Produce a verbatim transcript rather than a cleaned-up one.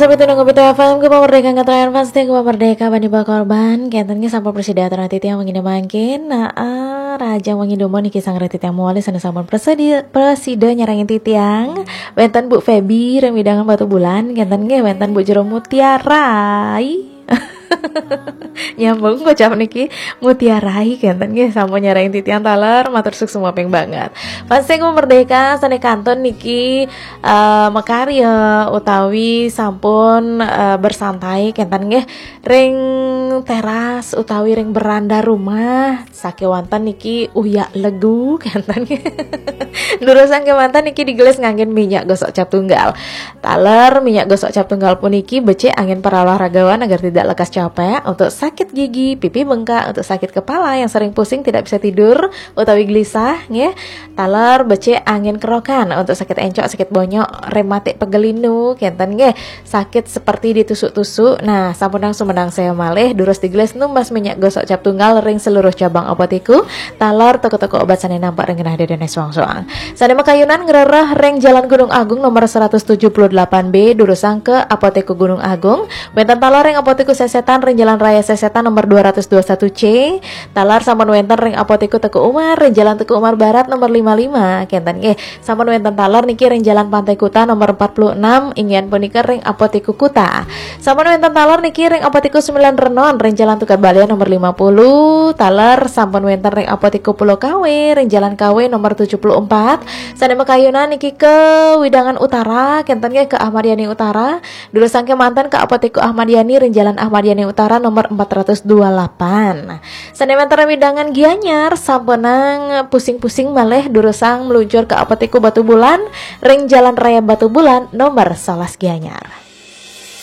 Sampai tunang ke F M, Gema Merdeka, ngetrayan fans teh Gema Merdeka, bani bakorban, kenten nggih sampun prasida titiang wengi mangkin. Nah, ah, raja wengi dumun niki sang titiang mawali sané sampun prasida, prasida nyarengin titiang. Wénten Bu Feby ring wewidangan Batubulan, kenten nggih wénten Bu Jero Mutiara. Nyambung kocap niki, Mutiara, kenten nggih sampun nyarengin titiang taler, matur suksma banget. Fans teh Gema Merdeka sané kantun niki eh, makarya utawi sampun eh, bersantai kenten nggih ring teras utawi ring beranda rumah, sakéwanten niki uyak legu kenten nggih. Durusang kémanten niki digelis nganggén minyak gosok cap tunggal. Taler minyak gosok cap tunggal puniki becik anggén para olahragawan agar tidak lekas capek, untuk sakit gigi, pipi bengkak, untuk sakit kepala yang sering pusing tidak bisa tidur utawi gelisah nggih. Taler becik anggén kerokan untuk sakit encok, sakit bonyok, rematik, pegel linu, kenten nggih, sakit seperti ditusuk-tusuk. Nah, sampunang sumedang saya malih, durus digelis numbas minyak gosok cap tunggal ring seluruh cabang Apotiku, taler toko-toko obat sané nampak ring genah déné soang-soang. Sané makayunan ngrereh ring Jalan Gunung Agung nomor seratus tujuh puluh delapan B, durusang ke Apotiku Gunung Agung. Wénten taler ring Apotiku Sesetan ring Jalan Raya Sesetan nomor dua ratus dua satu C. Taler sampun wénten ring Apotiku Teuku Umar ring Jalan Teuku Umar Barat nomor lima lima, kenten nggih. Sampun wénten taler niki ring Jalan Pantai Kuta nomor empat puluh enam, inggih punika ring Apotiku Kuta. Sampun wénten taler niki ring Apotiku Sembilan Renon ring Jalan Tukad Balian nomor lima puluh. Taler sampun wénten ring Apotiku Pulau Kawe ring Jalan Kawe nomor tujuh puluh empat. Sané makayunan niki ke wewidangan utara, kenten nggih ke Ahmad Yani Utara. Durusang kémanten ke Apotiku Ahmad Yani ring Jalan Ahmad Yani Utara nomor empat ratus dua delapan. Sané wénten ring wewidangan Gianyar, sampunang pusing-pusing malih, durusang meluncur ke Apotiku Batubulan ring Jalan Raya Batubulan nomor sebelas Gianyar.